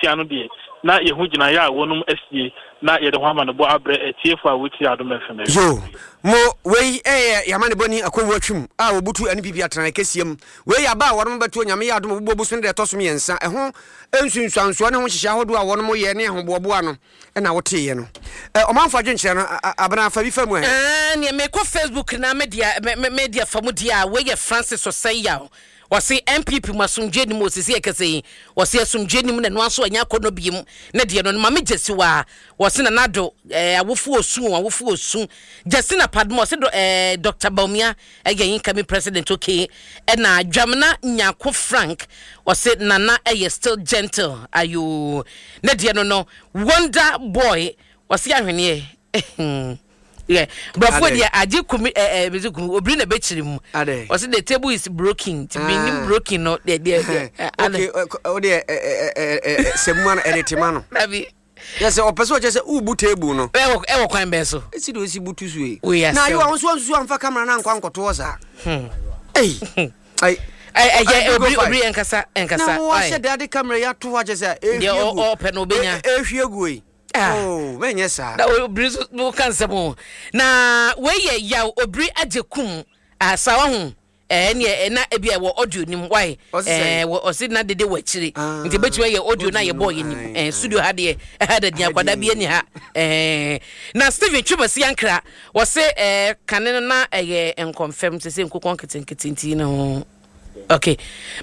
tia no deɛ, na yɛhu gyinaeɛ a wɔnom asie na yɛde ho amanebɔ abrɛ atiefo a wɔtie Adom FM awia Yo, mo, wei yɛ yɛn amanebɔni Akwawu Atwum a ɔbutu NPP atenaeɛ kɛseɛ mu. Wei yɛ aba a wɔnom bɛto Onyame yɛ adom a ɔbɛbu bosome da ɛtɔ so mmiɛnsa. Ɛho nsunsuansoɔ ne ho nhyehyɛɛ ahodoɔ a wɔnom yɛ ne ahoboaboa no na woteeɛ no. Ɛ, ɔmanfo adwenkyerɛ no, a, Abena, fa bi fa mu ɛ. Ɛɛ, neɛ mekɔ Facebook na me deɛ, me, me, me deɛ fa mu deɛ a, wei yɛ Francis Osei Yaw. Ɔse NPP mu asomdwoeɛ nnim o, sisi yɛkasa yi, ɔse asomdwoeɛ nnim na ɛno ara nso ɛnyɛ akɔnnɔ biom, ne deɛ no no, Mame Gyasiwaa, ɔse Nana Addo, ɛɛ, awofo osu o, awofo osu. Justina Padmore, ɔse dɔ, ɛɛ, Doctor Bawumia ɛyɛ incoming president, okay. Ɛna Dwamena Nyarko Frank, ɔse Nana ɛyɛ still gentle, ayoo, ne deɛ no no, Wonder Boy, ɔse ahweneɛ, Yeah. Brɔfo deɛ agye kumi ɛ ɛ bisi kumi obiri na bɛkyiri mu. Ɔsi the table is broken. Ti mi nim broken no deɛ deɛ deɛ. Okay, o deɛ ɛ ɛ ɛ sɛ mu ano ɛde tema no. Dabi. Yɛ sɛ ɔpɛ sɛ ɔkyɛ sɛ ubu table no. Ɛwɔ ɛwɔ kwan bɛn so. Esi de osi butu so yi. Na ayiwa ahosuo nsusu anfa kamera na ankɔ ankɔto hɔ saa. Ɛyi. Ɛyɛ obiri obiri ɛnkasa ɛnkasa. Na wɔn ahyɛ de ade kamera yi ato hɔ akyɛ sɛ ehwie gu. Deɛ ɔpɛ no obenya. Ehwie gu yi. Ah. Oh, mɛnyɛ saa. Na obiri nso woka nsɛm o. Na wei yɛ yaw obiri agye kum. Ah, saa wahu. Eh, neɛ eh, na ebi a ɛwɔ audio nim why? Eh, wɔ ɔsi na dede wɔ akyire. Ah, Nti ebetumi ayɛ audio na yɛbɔ yɛ nim. Eh, studio ha deɛ, ɛha da din akwadaa bi ani ha. Eh, na Steven Twumasi Ankra, wɔse eh, kane no na ɛyɛ nkɔmfɛm sese nkokɔ nketenkete nti no. Ok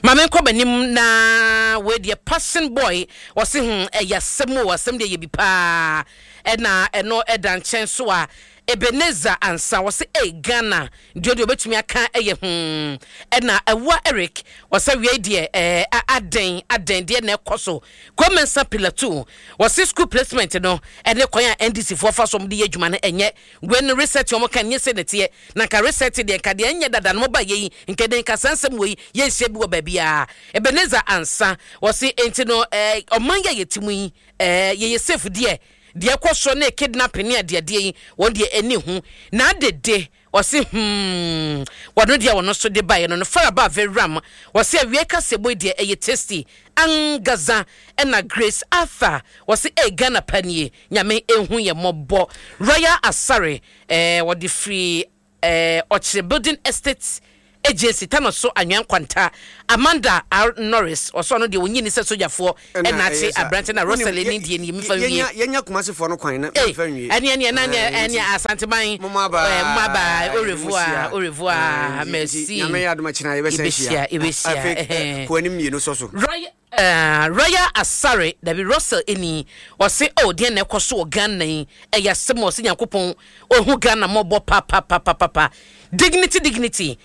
ma me nkɔ m'anim na wei deɛ passion boy ɔse hmm ɛyɛ asɛm o asɛm deɛ yɛ bi paa ɛna ɛno ɛda nkyɛn so a Ebenezer Ansa ɔse ei Ghana deɛ deɛ ɔbɛtumi aka ɛyɛ hmm ɛna Awua Eric ɔsɛ wei deɛ ɛɛ adɛn adɛn deɛ na ɛkɔ so Kwamensa Pilatu ɔse school placement no ɛne kwan a NDC foɔ fa so ɔmo de yɛ adwuma no ɛnyɛ Wei no reset wɔn ka nyɛ sei na ɛteɛ na nka reset deɛ nka deɛ ɛnyɛ dada no mo ba yɛ yi nka ɛdɛn nka saa nsɛm wei yɛnhyia bi wɔ baabiara Ebenezer Ansah wɔse enti no eh, ɔman yi a yɛte mu yi eh, yɛyɛ safe deɛ deɛ ɛkɔ soɔ ne kidnapping ne adeadeɛ yi wɔn deɛ ɛni ho na adede wɔse hmm wɔno deɛ wɔno so de baeɛ no no Faraba Veram wɔse awiei kaseɛbɔ yi deɛ ɛyɛ tasty angaza ɛna Grace Arthur wɔse eh Ghana pa nie Nyame nhu yɛn mmɔbɔ. Royal Asare eh, wɔde firi eh, Ɔkyere Building Estate Agency, Tano so Anwea Nkwanta. Amanda R. Norris, ɔsɛ ɔno deɛ ɔnyi ni sɛ sogyafoɔ ɛna akye aberante na Roselle ne deɛ nie mefa nwie. Yɛnya Kumasefoɔ no kwan na mefa nwie. Ɛne ɛne ɛna ɛne ɛne Asanteman. Moma aba. Moma aba. Au revoir, au revoir, merci. Nyame yɛ adom akyina yɛbɛsan hyia. Yɛbɛhyia, yɛbɛhyia. Afei kɔ anim mmienu sɔ so. Royal. Eh, Royal Asare, dabi Russell ɛni, ɔse oh deɛn na ɛkɔ so wɔ Ghana yi, ɛyɛ asɛm o, ɔse Nyankopɔn ɔhu Ghana mmɔbɔ papapapapa, dignity dignity,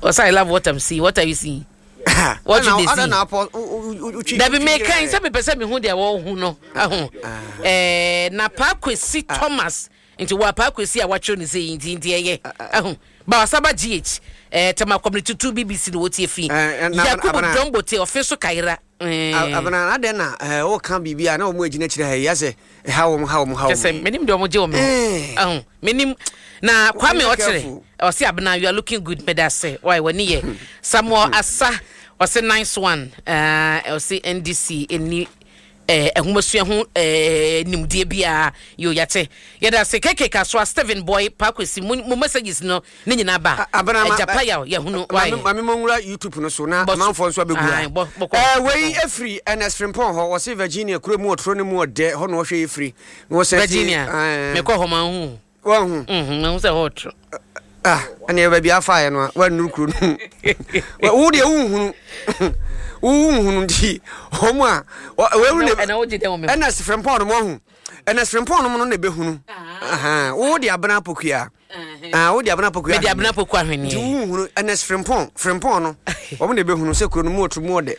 ɔse I love what I'm seeing, what are you seeing? What you dey see? Dabi mekan sɛ mepɛ sɛ mehu deɛ wɔhu no, ahu, eh, na Paa Kwesi Thomas, Nti wɔ apaa kwesi a wakyerɛw ne sɛ yi nti nti ɛyɛ ahu Bawasaba GH eh, Tema Community 2 BBC na wɔtie fi Eh, na- Yakubu Abena. Dombote ɔfe so kayera eh. Abena adɛn na eh, woka biribi a na wɔn agyina akyire ha yi asɛ ɛha wɔn ha wɔn ha Kyɛ sɛ wɔn. menim deɛ ɔmo gye wɔ me ho Eh. ahu menim na Kwame Be ɔkyerɛ careful. ɔse Abena you are looking good meda ase why w'ani yɛ Samuel Asa ɔse nice one eh, ɔse NDC ɛni eh, nhomasua ho eh, nimdeɛ biara. Yo, yɛate. Yɛda ase. KK Kasoa, Stephen Boy, Pakwesi, mo, mo messages no ne nyinaa ba. Abena, ma, Agya Payaw, yɛhunu. Why? Mame, mame mo nwura YouTube no so na Bɔ so. amanfoɔ nso abɛgu ha. Ae, bɔ, bɔkɔ. Eh, wei efiri Ernest Frimpong hɔ, wɔse Virginia kuro mu ɔtoro ne mu ɔdɛ, hɔ na ɔhwɛ efiri. Na wɔsan ti, Virginia, eh, mekɔ hɔ manhu. Wahu? Mhm, mahu sɛ hɔ ɔtoro. Ah, ɛnna baabi afaeɛ no a woannuru kuro no mu. Wo deɛ wonhunu. Wonhunu nti wɔn a wɔahu ne ɛna wogye dɛ wɔ me ho. ɛna sefrɛmpɔn no moahu. Ɛna sefrɛmpɔn no no na ɛbɛhunu. Aha, wo de abena apokua. Ah, wo de abena apokua. Mede abena apokua ahweneɛ. Nti wonhunu ɛna sefrɛmpɔn, frɛmpɔn no. Wɔn na ɛbɛhunu sɛ kuro no mu ɔtoro mu ɔdɛ.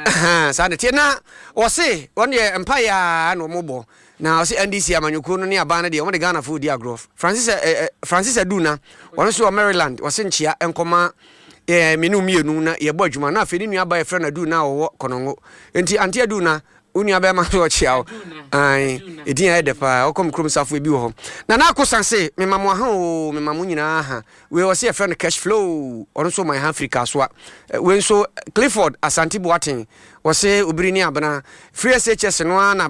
Aha, saa na ɛteɛ. Na wɔse wɔn deɛ mpaeɛ a na wɔn bɔ. Na ɔse NDC amanyɔkuo no ne aban no deɛ wɔn de Ghanafoɔ redi agorɔ. Francis eh, eh, Francis Aduna, ɔno nso wɔ Maryland, ɔse nkyea nkɔma Eh, me ne wo mmienu na yɛbɔ adwuma. Na afei ne nua ba yɛfrɛ no Aduna a ɔwɔ Kɔnɔngo. Enti Auntie Aduna, wo nua bɛrima nso ɔkyea wo. Ae, ɛdin a ɛyɛ dɛ paa. Ɔkɔ me kurom safo ebi wɔ hɔ. Nana Akosa se, mema mo aha oo, mema mo nyinaa aha. Wei ɔse yɛfrɛ no Cash Flow, ɔno nso ɔma yɛn ha firi Kasoa. Wei nso Clifford Asante Boateng, ɔse Obiri ne Abena. Free SHS no ara na.